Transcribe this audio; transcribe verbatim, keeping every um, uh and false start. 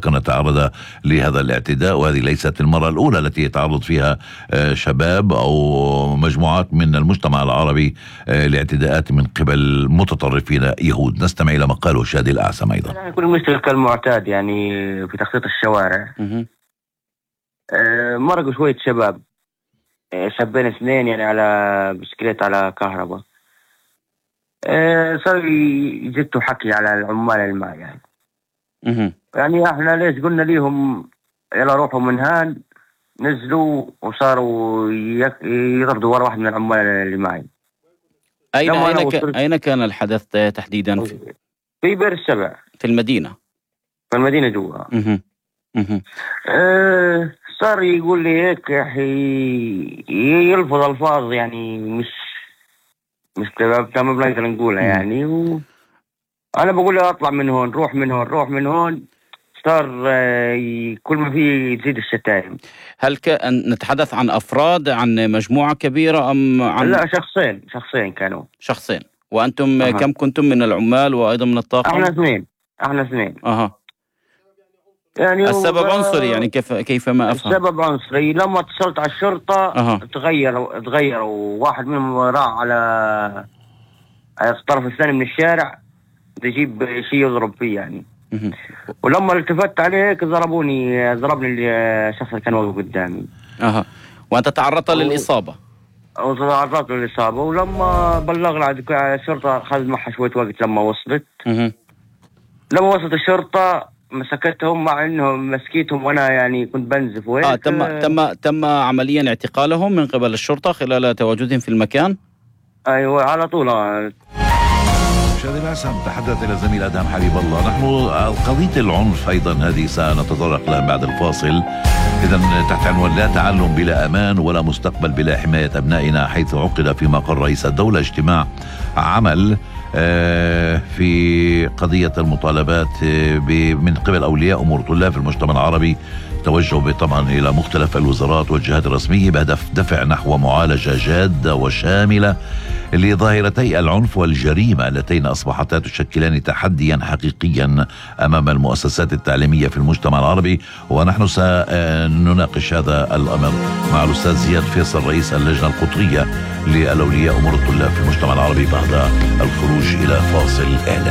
كان تعرض لهذا الاعتداء، وهذه ليست المرة الأولى التي يتعرض فيها شباب أو مجموعات من المجتمع العربي لاعتداءات من قبل متطرفين يهود. نستمع إلى ما قاله شادي الأعسم أيضا. يعني كل مشكلة كالمعتاد يعني في تخطيط الشوارع. مرقوا شوية شباب، شابين اثنين يعني على بسكليت على كهرباء، صار يجتوا حكي على العمال الماء يعني. يعني احنا ليش قلنا ليهم يلا روحوا من هان، نزلوا وصاروا يغردوا ورا واحد من العمال اللي معي. أين أين, ك... أين كان الحدث تحديدا؟ في, في بئر السبع في المدينة. في المدينة جوا. أه صار يقول لي هيك يا أخي، يلفظ ألفاظ يعني مش مش تمام بنقدر نقولها يعني. و... أنا بقول له أطلع من هون، روح من هون، روح من هون. صار كل ما فيه تزيد الشتائم. هل كان نتحدث عن أفراد، عن مجموعة كبيرة أم عن؟ لا، شخصين شخصين كانوا. شخصين. وأنتم أه. كم كنتم من العمال وأيضا من الطاقم؟ احنا اثنين احنا اثنين أها. يعني السبب عنصري يعني كيف كيف ما أفهم؟ السبب عنصري. لما اتصلت على الشرطة أه. تغيروا تغيروا واحد منهم راح على على الطرف الثاني من الشارع تجيب شيء يضرب فيه يعني. مه. ولما التفت عليه ضربوني ضربني الشخص اللي كان واقف قدامي. اها. وأنت تعرضت و... للإصابة؟ أو تعرضت للإصابة. ولما بلغنا الشرطة أخذ معها شوية وقت لما وصلت. مه. لما وصلت الشرطة مسكتهم، مع انهم مسكيتهم وانا يعني كنت بنزف وهيك. اه تم تم تم عمليا اعتقالهم من قبل الشرطة خلال تواجدهم في المكان. ايوه على طول. شادي الأعسم تحدث الى زميل ادهم حبيب الله. نحن قضية العنف ايضا هذه سنتطرق لها بعد الفاصل. اذا تحت عنوان لا تعلم بلا امان ولا مستقبل بلا حماية ابنائنا، حيث عقد في مقر رئيس الدولة اجتماع عمل في قضية المطالبات من قبل أولياء أمور طلاب في المجتمع العربي. توجهوا طبعا إلى مختلف الوزارات والجهات الرسمية بهدف دفع نحو معالجة جادة وشاملة لظاهرتي العنف والجريمة اللتين أصبحتا تشكلان تحديا حقيقيا أمام المؤسسات التعليمية في المجتمع العربي. ونحن سنناقش هذا الأمر مع الأستاذ زياد فيصل رئيس اللجنة القطرية للأولياء أمور الطلاب في المجتمع العربي بعد الخروج إلى فاصل إعلاني.